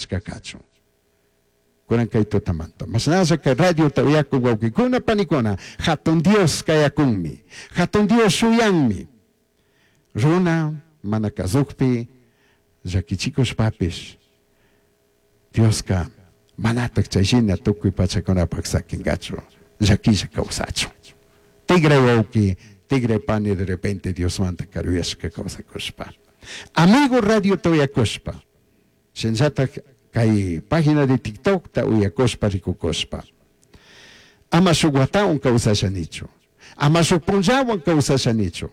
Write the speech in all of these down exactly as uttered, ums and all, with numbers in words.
Kashka kachun. Kunan kay tutamanta. Mashnalla kay radiota uyakuk wawkikuna panikuna, hatun Dios kayakunmi, hatun Dios shuyanmi. Runa mana kazukpi llakichikushpapish Dioska manatak chayshina tukuy pachakunapak sakinkachu, llakilla kawsachun. Tigray wawki, tigray pani, de repente Diosmanta karuyashka kawsakushpa. Amigo, radiota uyakushpa, shinallatak kay página de TikTokta uyakushpa rikukushpa, ama shuk watawan kawsashanichu, ama shuk punllawan kawsashanichu.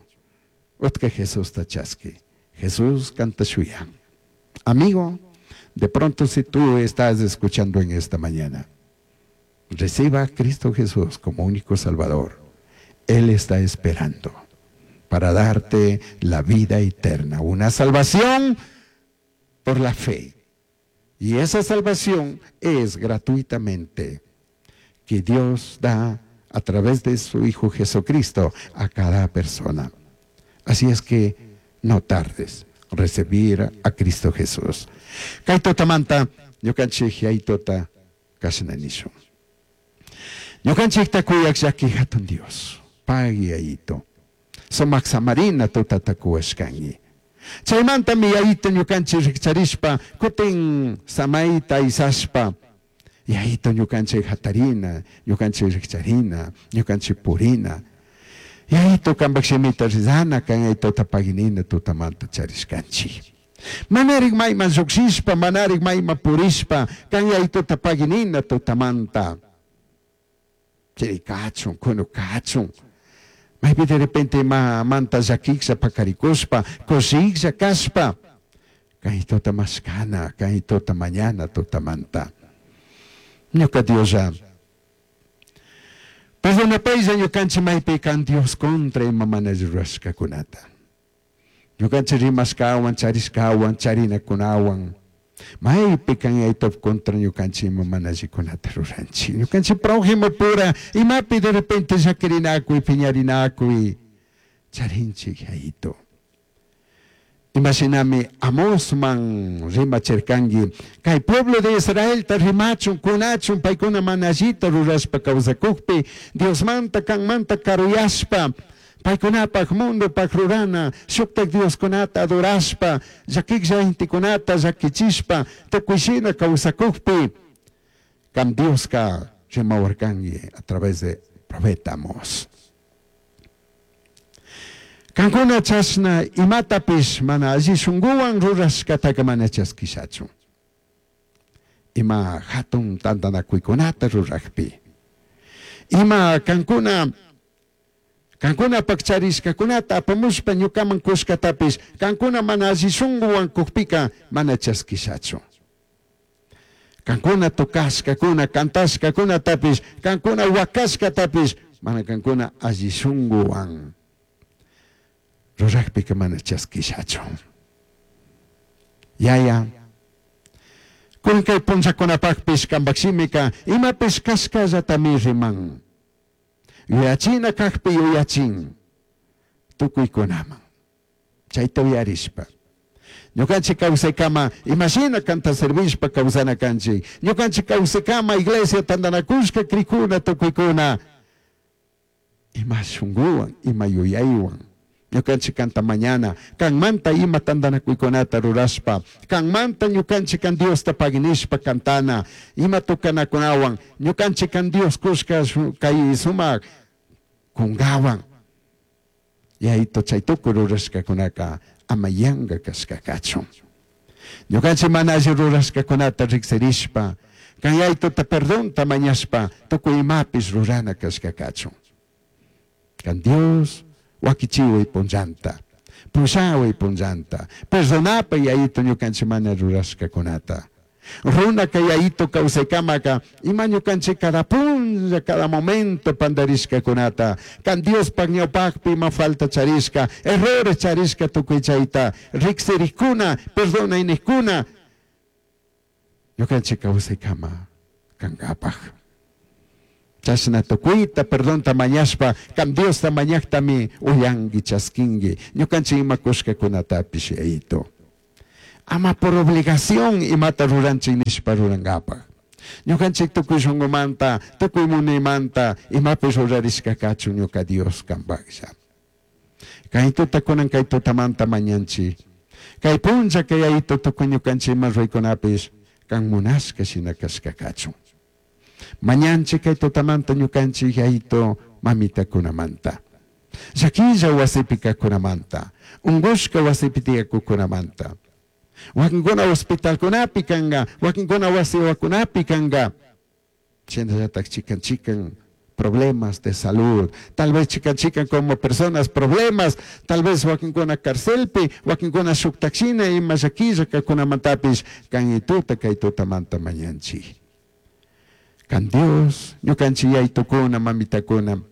Utka Jesusta chaski. Jesús kanta shuyan. Amigo, de pronto si tú estás escuchando en esta mañana, reciba a Cristo Jesús como único Salvador. Él está esperando para darte la vida eterna, una salvación por la fe. Y esa salvación es gratuitamente que Dios da a través de su Hijo Jesucristo a cada persona. Así es que no tardes recibir a Cristo Jesús. Kay tutamanta ñukanchik Yayituta kashna nishun. Ñukanchikta kuyak llaki hatun Dios. Pagui, Yayito. Sumak samarina tutata kuwashkanki. Chaymantami, Yayito, ñukanchik rikcharishpa kutin samayta isashpa, Yayito, ñukanchik hatarina, ñukanchik rikcharina, ñukanchik purina. Yayito, kampak shimita rizana kan Yayitota paginina tutamanta charishkanchik. Manarik mayman llukshishpa, manarik mayman purishpa, kan Yayitota paginina tutamanta. Chiri kachun, kunu kachun. Maypi de repente ma manta llakiklla pakarikushpa, kushiklla kashpa, kay tuta mashkana, kay tuta mañana tutamanta. Ñuka Dioslla, perdonapaylla ñukanchik maypi kan Dios contra ima mana rurashkakunata. Ñukanchik rimashkawan, charishkawan, charinakunawan. Maypi kan Yayitop contra ñukanchik ima mana allikunata ruranchik. Ñukanchik prójimo pura, imapi de repente llakirinakuy, piñarinakuy, charinchik, Yayito. Imashinami Amosman rimachirkanki, kay pueblo de Israelta rimachun, kunachun, paykuna mana allita rurashpa kawsakukpi, Diosmanta kanmanta karuyashpa, paykunapak mundopak rurana, shuktak dioskunata adorashpa, llakiklla intikunata llakichishpa, tukuy kawsakukpi, kan Dioska rimawarkanki a través de profeta Amos. Kankuna chashna imatapish mana alli shunguwan rurashkataka mana chaskishachu. Ima hatun tantanakuykunata rurakpi. Ima kankuna kankunapak charishkakunata apamushpa ñukaman kushkatapish kankuna mana alli shunguwan kukpika mana chaskishachu. Kankuna tocashkakuna, kantashkakunatapish, kankuna wakashkatapish, mana kankuna alli shunguwan rurakpika mana chaskishachu. Yaya, kun kay punllakunapakpish kampak shimika imapish kashkallatami riman. Yuyachina kakpi yuyachin tukuykunaman. Chayta uyarishpa, ñukanchik kawsaykama imashina kanta servishpa kawsana kanchik. Ñukanchik kawsaykama iglesia tantanakushka krikuna tukuykuna ima shunguwan, ima yuyaywan ñukanchik kanta mañana, kanmanta ima tantanakuykunata rurashpa, kanmanta ñukanchik kan Diosta paginishpa cantana, ima tukanakunawan ñukanchik kan Dios kushka kay sumak kungawan. Yayito, chay tukuy rurashkakunaka ama yanka kashka kachun. Ñukanchik mana alli rurashkakunata riksirishpa, kan Yayituta perdonta mañashpa tukuy imapish rurana kashka kachun. Kan Dios wakichiway punllanta, pushaway punllanta, perdonapay, Yayito, ñukanchik mana rurashkakunata. Runa kay Yayito kawsaykamaka ima ñukanchik cada punlla, cada momento pandarishkakunata, kan Diospaj ñawpakpi ima falta charishka, errores charishka, tukuy chayta riksirikuna, perdonaynikkuna ñukanchik kawsaykama kankapaj. Chashna tukuyta perdonta mañashpa kan Diosta mañaktami uyanki, chaskinki ñukanchik ima kushkakunatapish, Yayito. Ama por obligación imata ruranchik nishpa rurankapaq. Ñukanchik tukuy shunqumanta, tukuy munaymanta imapish rurarishka kachun ñuka Dios kampaklla. Kay tuta kunan kay tutamanta mañanchik. Kay punlla kay Yayito tukuy ñukanchik ima ruraykunapish kan munashka shina kashka kachun. Mañanchik kay tutamanta ñukanchik Yayito mamitakunamanta. Llaquilla wasipi kajkunamanta, ungushka wasipi tiyakuqkunamanta. Wakinkuna hospitalkunapi kanka, wakinkuna wasiwakunapi kanka. Shinallatak chikan chikan problemas de salud, tal vez chikan chikan como personas problemas, tal vez wakinkuna carcelpi, wakinkuna shuktakshina ima llaquilla kajkunamantapish kan tuta kay tutamanta mañanchik. Kan Dios, ñukanchik yaytukuna, mamitakuna,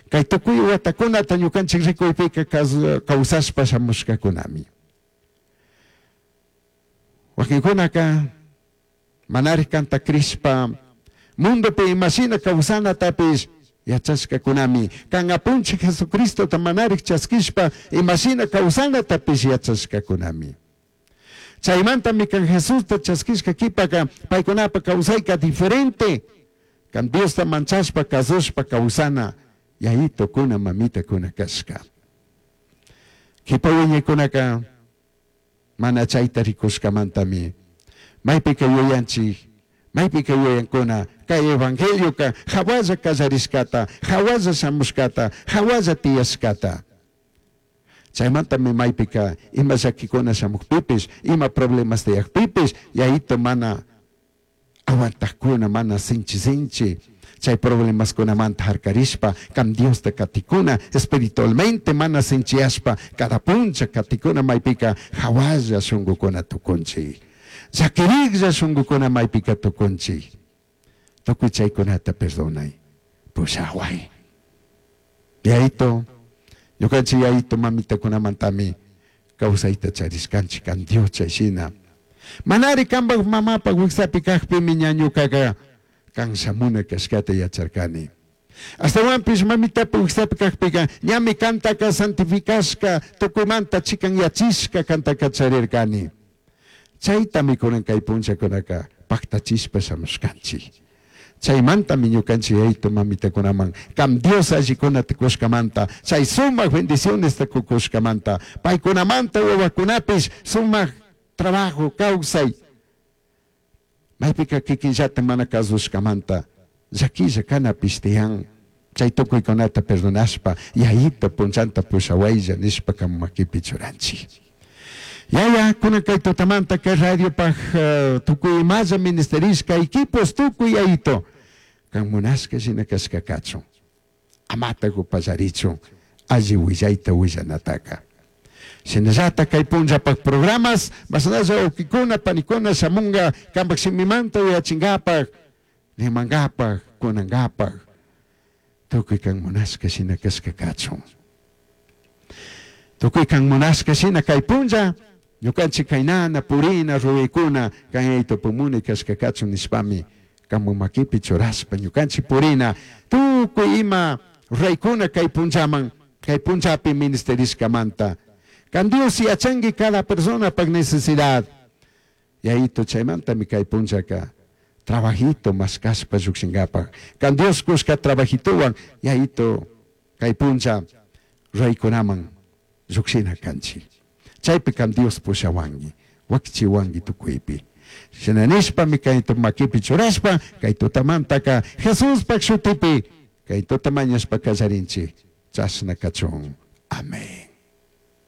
kay tukuy watakunata ñukanchik rikuypika kawsashpa shamushkakunami. Wakinkunaka manarik kanta crishpa mundopi imashina kawsanatapish yachashkakunami. Kan apunchik Jesucristota manarik chaskishpa imashina kawsanatapish yachashkakunami. Chaymantami kan Jesusta chaskishka kipaka paykunapa kawsayka diferente. Kan Diosta manchashpa kasushpa kawsana yayitukuna mamitakuna kashka. Kipa wiñaykunaka mana chayta rikushkamantami maypika yuyanchik, maypika yuyankuna kay evangelioka hawalla kallarishkata, hawalla shamushkata, hawalla tiyashkata. Chaymantami maypika ima llakikuna shamukpipish, ima problemas tiyakpipish, yayito mana aguantakuna, mana sinchi sinchi, chay problemaskunamanta harkarishpa, kan Diosta katikuna, espiritualmente mana sinchiyashpa, cada puncha katikuna maypika hawalla shunqukuna tukunchik. Llakiriklla shunqukuna maypika tukunchik. Tukuy chaykunata perdonay, pushaway. Yayito, ñukanchik yayito mamitakunamantami kawsayta charishkanchik kan Dios chayshina. Manari kanpak mamapak wiksapi kakpimi ña ñukaka kan shamuna kashkata yacharkani. Ashtawanpish mamitapi wiksapi kakpika ñami kantaka santificashka tukuymanta chikanyachishka kantaka charirkani. Chaytami kunan kay punllakunaka paktachishpa shamushkanchik. Chaymantami ñukanchik yayito mamitakunaman kam Dios allikunata kushkamanta, chay sumak bendicionesta kukushkamanta, paykunamanta wawakunapish sumak trabajo kawsay. Maypika kikinllata mana kasushkamanta llaquilla kanapish tiyan. Chay tukuykunata perdonashpa yayito punllanta pushawaylla nishpa kan makipi churanchik. Yaya, kunan kay tutamanta kay radiopaj uh, tukuy imalla ministerishka equipos tukuy yayito. Kan munashka shina kashka kachun. Amata upallarichun alli willayta willanataka. Shinallata kay punllapaj programas, masnalla wawkikuna, panikuna shamunga kanpak shimimanta uyachinkapak, rimankapak, kunankapak. Tukuy kan munashka shina kashka kachun. Tukuy kan munashka shina kay punlla, ñukanchik kaynana, purina, ruraykuna, kan yayito pumuni kashka kachun nishpami, kanpak makipi churashpa ñukanchik purina, tukuy ima ruraykuna kay punllaman, kay punllapi ministerishkamanta. Kan Dios yachanki cada persona pak necesidad. Yayito chaymantami kay punllaka trabajito mashkashpa llukshinkapak. Kan Dios kushka trabajituwan yayito kay punlla ruraykunaman llukshina kanchik. Chaypi kan Dios pushawanki, wakichiwanki tukuypi. Shina nishpami kay makipi churashpa, kay tutamantaka Jesuspak shutipi, kay tuta mañashpa kallarinchik. Chashna kachun. Amén.